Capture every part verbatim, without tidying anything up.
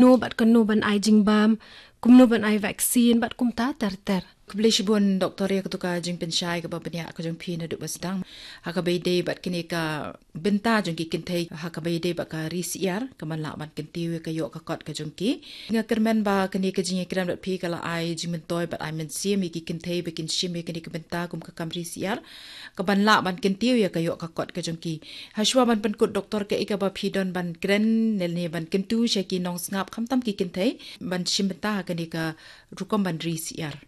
kumno bad kumno ban ai jingbam, kumno ban ai vaccine bad kumta ter ter. Khublei shibun Doktor ïa katu ka jingpynshai kaba bniah ka jong phi naduh ba sdang. Ha kaba ïadei bad kane ka bynta jong ki kynthei ha kaba ïadei bad ka ri syiar, ka ban lah ban kyntiew ïa ka ïoh ka kot ka jong ki. Nga kyrmen ba kane ka jingïakren bad phi ka la ai jingmyntoi bad ai mynsiem ïa ki kynthei ba kin shim ïa kane ka bynta kum ka kam ri syiar, ka ban lah ban kyntiew ïa ka ïoh ka kot ka jong ki. Hashwa ban pynkut Doktor, kaei kaba phi don ban kren ne ban kyntu sha ki nongsngap khamtam ki kynthei ban shim bynta ha kane ka rukom ban ri syiar?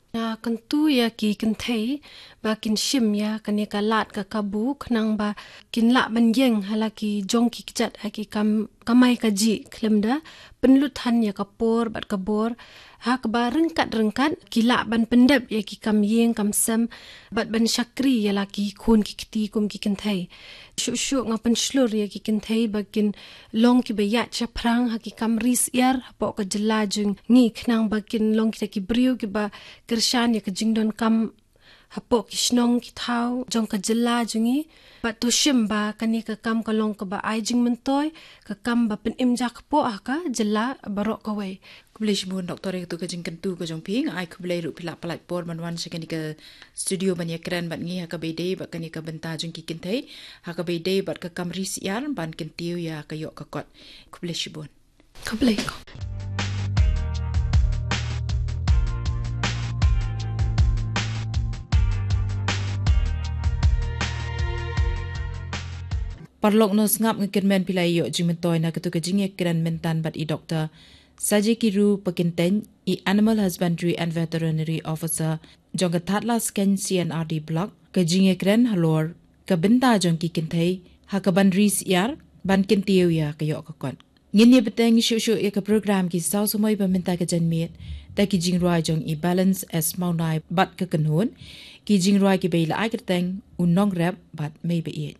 Nga kyntu ïa ki kynthei ba kin shim ïa kane ka lad ka kabu khnang ba kin lah ban ïeng ha la ki jong ki kjat ha ki kam kamai kajih khlem da pynlut than ïa ka por bad ka bor, ha kaba ryngkat ryngkat ki lah ban pyndep ïa ki kam ïing kam sem bad ban shakri ïa la ki khun ki kti kum ki kynthei. Shuh shuh nga pynshlur ïa ki kynthei ba kin long kiba ïaid shaphrang ha ki kam ri syiar hapoh ka jylla jong ngi khnang ba kin long kita ki briew kiba kyrshan ïa ka jingdonkam hapoh ki shnong ki thaw jong ka jylla jong ngi. Bad to shim ba kane ka kam ka long kaba ai jingmyntoi, ka kam ba pynim ja kpoh ha ka jylla baroh kawei. Khublei shibun Doktor ïa katu ka jingkyntu ka jong phi. Nga ai khublei ruh phi la pyllait por ban wan sha kane ka studio ban ïakren bad ngi ha kaba ïadei bad kane ka bynta jong ki kynthei ha kaba ïadei bad ka kam ri syiar ban kyntiew ïa ka ïoh ka kot. Khublei shibun. Khublei ko. Paralok nongsngap, nga kyrmen phi la ïoh jingmyntoi na katu ka jingïakren mynta bad i Doktor Sajekiru Pakyntein, i Animal Husbandry and Veterinary Officer jong ka Thadlaskein C and R D Block, ka jingïakren halor ka bynta jong ki kynthei ha ka ban ri syiar ban kyntiew ïa ka ïoh ka kot. Ngin ïa bteng shuh shuh ïa ka program ki saw samoi ba mynta ka janmiet da ki jingrwai jong i Balance S Mawnai bad ka kynhun, ki jingrwai kiba ïa la ai kyrteng U Nongrep bad Mei Baieit.